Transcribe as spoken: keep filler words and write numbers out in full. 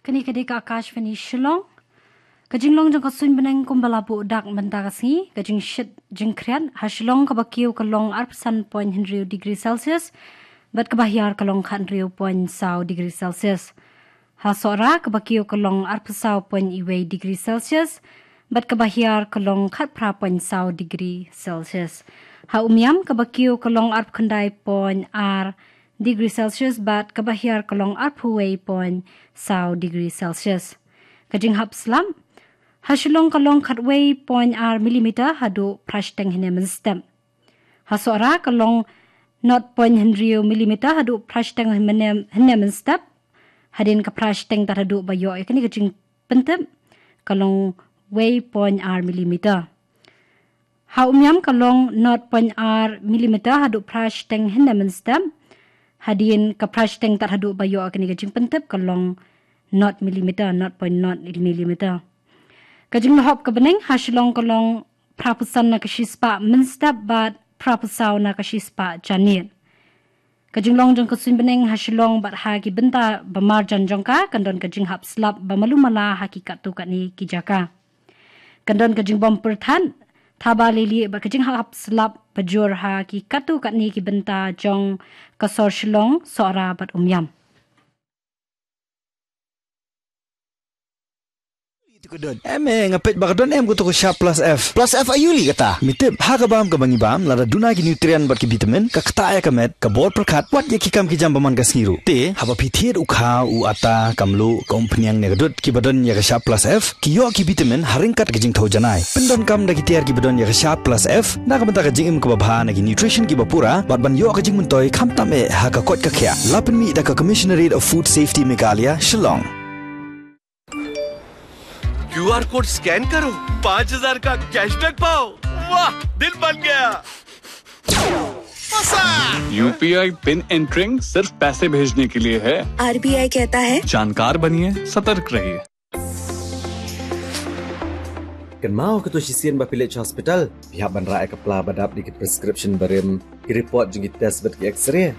Kane ka dei ka Akashvani Shillong. Ka jinglong jong ka suiñ bneng kumba la buh dak mynta ka sngi, ka jingshit jingkhriat ha Shillong kaba kiew ka long arphew san point hynriew degree Celsius, bad kaba hiar ka long khathynriew point saw degree Celsius. Ha Sohra kaba kiew ka long arphew saw point wei degree Celsius, bad kaba hiar ka long khatphra point saw degree Celsius. Ha Umiam kaba kiew ka long arphew khyndai point ar degree Celsius, bad kaba hiar ka long arphew wei point saw degree Celsius. Ka jinghap slap ha Shillong ka long khatwei point ar millimeter haduh phra shiteng hynne mynstep. Ha Sohra ka long nought point hynriew millimeter haduh phra shiteng hynne mynstep. Hadien ka phra shiteng tad haduh ba ïoh ïa kane ka jingpyntip ka long wei point ar millimeter. Ha Umiam ka long nought point ar millimeter haduh phra shiteng hynne mynstep. Hadien ka phra shiteng tad haduh ba ïoh ïa kane ka jingpyntip ka long nought millimeter, nought point nought millimeter. Ka jinglahop ka bneng ha Shillong ka long phraphew san na ka shispah mynstep bad phraphew saw na ka shispah janmiet. Ka jinglong jong ka suiñ bneng ha Shillong bad ha ki bynta ba marjan jong ka kan don ka jinghap slap ba malu mala ha ki katto katne ki jaka. Kan don ka jingbym pyrthat thaba lili bad ka jinghap slap ba jur ha ki katto katne ki bynta jong ka sor Shillong, Sohra bad Umiam. Em, eh, nga peit ba ka don em kato ka Sharp Plus F. Plus F aïu lei kata? Me tip, ha ka bam kaba ngi bam, lada duna ki nutrient bad ki vitamin, ka ktah ïa ka met, ka bor pyrkhat, wat ïa ki kam ki jam ba man ka sngi ruh. Te haba phi thied u khaw, u atta, ka mluh, ka umphniang ne ka dud, kiba don ïa ka Sharp Plus F ki ïoh ki vitamin ha ryngkat ka jingthew janai. Pyndonkam da ki tiar kiba don ïa ka Sharp Plus F na ka bynta ka jingim kaba bha na ki nutrition kiba pura bad ban ïoh ka jingmyntoi khamtam eh ha ka koit ka khiah. La pynmih da ka Commissionerate of Food Safety Meghalaya, Shillong. क्यूआर कोड स्कैन करो, पाँच हज़ार का कैशबैक पाओ। वाह, दिल बन गया। यूपीआई पिन एंटरिंग सिर्फ पैसे भेजने के लिए है। आरबीआई कहता है, जानकार बनिए, सतर्क रहिए। Kynmaw, kato shisien ba phi leit sha hospital, phi hap ban rah ïa ka pla ba dap da ki prescription barim, ki report jong ki test bad ki X-ray.